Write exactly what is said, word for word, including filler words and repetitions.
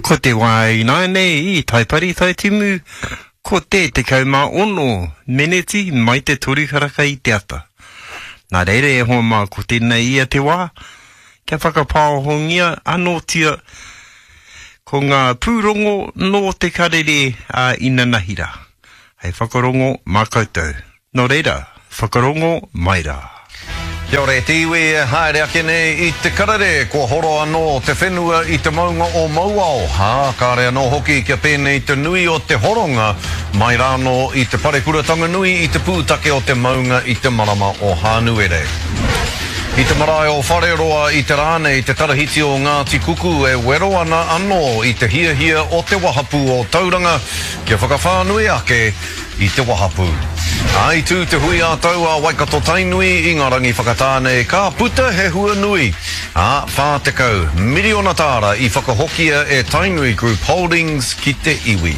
Ko te wā ināianei i Taipari Taitimu, ko te tekau mā ono meneti mai te toru karaka i te ata. Nā reira e hoa mā, ko tēnei ia te wā, kia whakapāohongia anōtia ko ngā pūrongo nō te karere a inanahira, hei whakarongo mā koutou. Nō reira, whakarongo mai rā. Kia ora e te iwi e haere ake nei i te karere, kua horo anō te whenua i te maunga o Mauao, ā, kāre anō hoki kia pēnei te nui o te horonga mai rānō i te parekuratanga nui i te pūtake o te maunga i te marama o Hānuere. I te marae o Whareroa i te rā nei te tarahiti o Ngāti Kuku e wero ana anō i te hiahia o te wahapū o Tauranga kia whakawhānui ake i te wahapū. Ā, i tū te hui ā-tau a Waikato-Tainui i ngā rangi whakatā nei, ka puta he hua nui, ā, whā tekau miriona tāra i whakahokia e Tainui Group Holdings ki te iwi.